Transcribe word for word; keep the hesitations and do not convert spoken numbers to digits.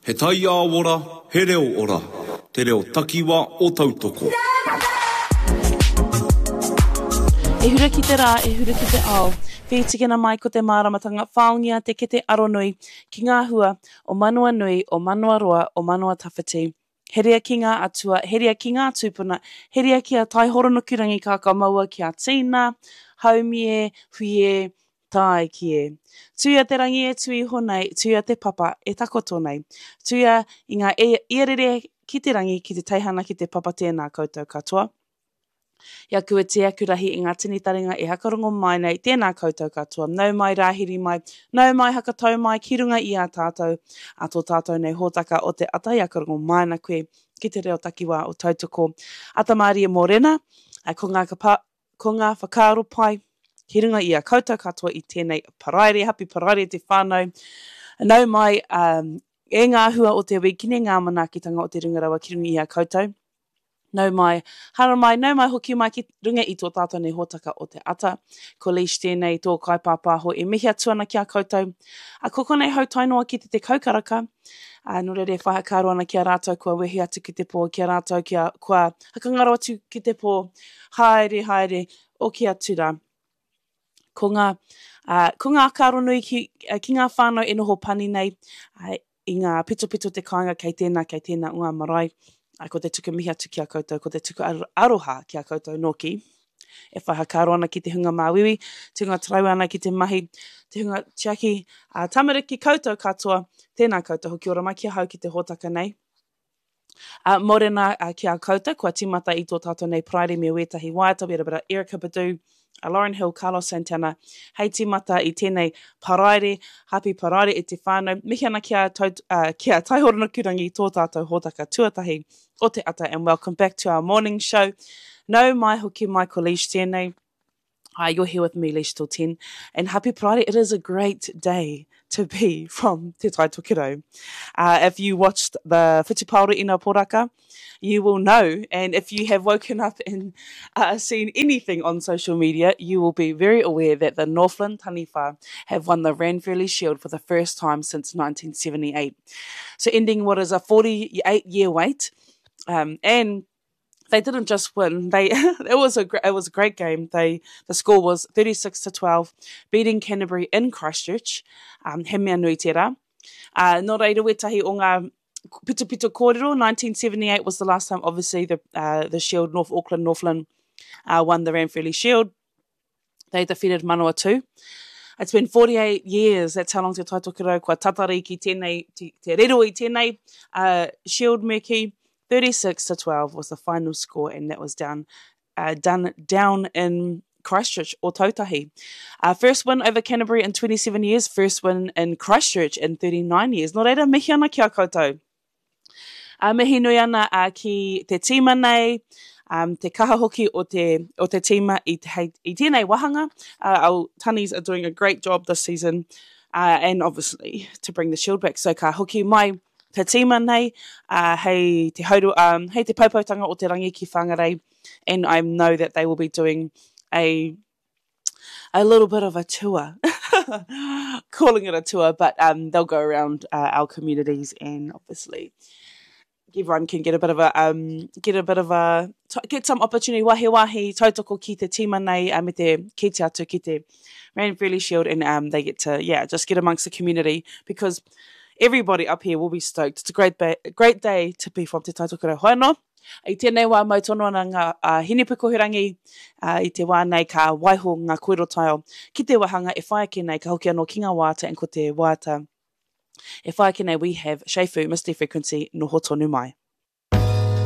He taiao ora, he reo ora. Te reo takiwa o Tautoko. E hura ki te rā, e hura ki te ao. Whītikina mai ko te māramatanga, whaongia te kete aronui ki ngā hua o manawa nui, o manawa roa, o manawa tawhiti. Heria ki ngā atua, heria ki ngā tūpuna, heria ki a Taihoronukurangi kākamaua ki a Tina, Haumie, Huie, Tāiki e. Tuia te rangi e tū iho nei, tuia te papa e takoto nei. Tuia i ngā e, iarere ki te rangi, ki te teihana, ki te papa tēnā koutou katoa. I aku iti, aku rahi i ngā tini taringa e hakarongo mai nei, tēnā koutou katoa. Nau mai, rāhiri mai, nau mai, hakatau mai ki runga i a tātou, a tō tātou nei hōtaka o te ata i hakarongo mai ana koe ki te reo takiwā o Tautoko. Ata mārie mōrena, ko ngā, kapa, ko ngā whakaaro pai ki runga i a koutou katoa i tēnei paraire, happy paraire te whānau. Nau mai, um, e ngā hua o te wīkene, ngā manaakitanga o te runga rawa ki runga i a koutou. Nau mai, haramai, nau mai hoki mai ki runga i tō tātou nei hōtaka o te ata. Ko Leish tēnei tō kaipāpāho e mihi atu ana ki a koutou. A ko konei hau tae noa ki te tekau karaka. A, nō reira e whai whakaaro ana ki a rātou kua wehi atu ki te pō, ki a rātou kia, kua hakangaro atu ki te pō. Haere, haere, oki atu rā. Ko ngā, uh, ko ngā whakaaro nui ki, ki ngā whānau e noho pani nei, uh, i ngā pitopito te kāinga kei tēnā, kei tēnā o ngā marae. Uh, ko te tuku mihi atu ki a koutou, ko te tuku aroha ki a koutou nōki. E whai whakaaro ana ki te hunga māuiui, te hunga taraiwa ana ki te mahi, te hunga tiaki, uh, tamariki koutou katoa, tēnā koutou hoki ora mai ki ahau ki te hōtaka nei. Uh, mōrena uh, ki a koutou, kua tīmata i tō tātou nei paraire me wētahi waiata, we had a bit of Erykah Badu, uh, Lauryn Hill, Carlos Santana, hei tīmata i tēnei paraire, happy paraire e te whānau. Mihi ana ki a, tau, uh, ki a Taihoronukurangi tō tātou hōtaka tuatahi o te ata and welcome back to our morning show. Nau mai hoki mai ko Leish tēnei. Hi, you're here with me, Leish till ten. And happy Friday. It is a great day to be from Te Tai Tokerau. Uh, if you watched the Whutupaoro Ina Poraka, you will know. And if you have woken up and uh, seen anything on social media, you will be very aware that the Northland Taniwha have won the Ranfurly Shield for the first time since nineteen seventy-eight. So ending what is a forty-eight year wait. Um, and they didn't just win. They it was a it was a great game. They the score was thirty-six to twelve, beating Canterbury in Christchurch. Um, he mea nui tērā. Uh, nō reira wētahi o ngā pitopito kōrero, nineteen seventy-eight was the last time, obviously, the, uh, the Shield, North Auckland, Northland, uh, won the Ranfurly Shield. They defeated Manawatu. It's been forty-eight years, that's how long Te Tai Tokerau kua tatari ki tēnei, te, te rero i tēnei uh, Shield me kī. thirty-six to twelve was the final score, and that was down, uh, done down in Christchurch or Tautahi. Uh, first win over Canterbury in twenty-seven years, first win in Christchurch in thirty-nine years. Nō reira, mihi ana ki a koutou. Uh, mihi nui ana uh, ki te tīma nei, um, te kaha hoki o te, o te tīma i, te, hei, i tēnei wāhanga. Uh, our Tanis are doing a great job this season, uh, and obviously to bring the shield back. So ka hoki mai te tīma nei, uh, hei te hauru, um, hei te poupoutanga o te rangi ki Whangarei, and I know that they will be doing a a little bit of a tour, calling it a tour, but um, they'll go around uh, our communities and obviously everyone can get a bit of a, um, get a bit of a, get some opportunity wahi wahi tautoko ki te tīma nei, uh, me te kite atu ki te Ranfurly Shield, and um, they get to, yeah, just get amongst the community because everybody up here will be stoked. It's a great, ba great day to be from Te Tai Tokerau. Hoi anō, i tēnei wā mau tono ana ngā uh, hinepukohurangi, uh, i te wā nei ka waiho ngā kōrero taiao ki te wāhanga e whai ake nei ka hoki anō ki ngā waiata and ko te waiata e whai ake nei we have Shefu, Misty Frequency, noho tonu mai.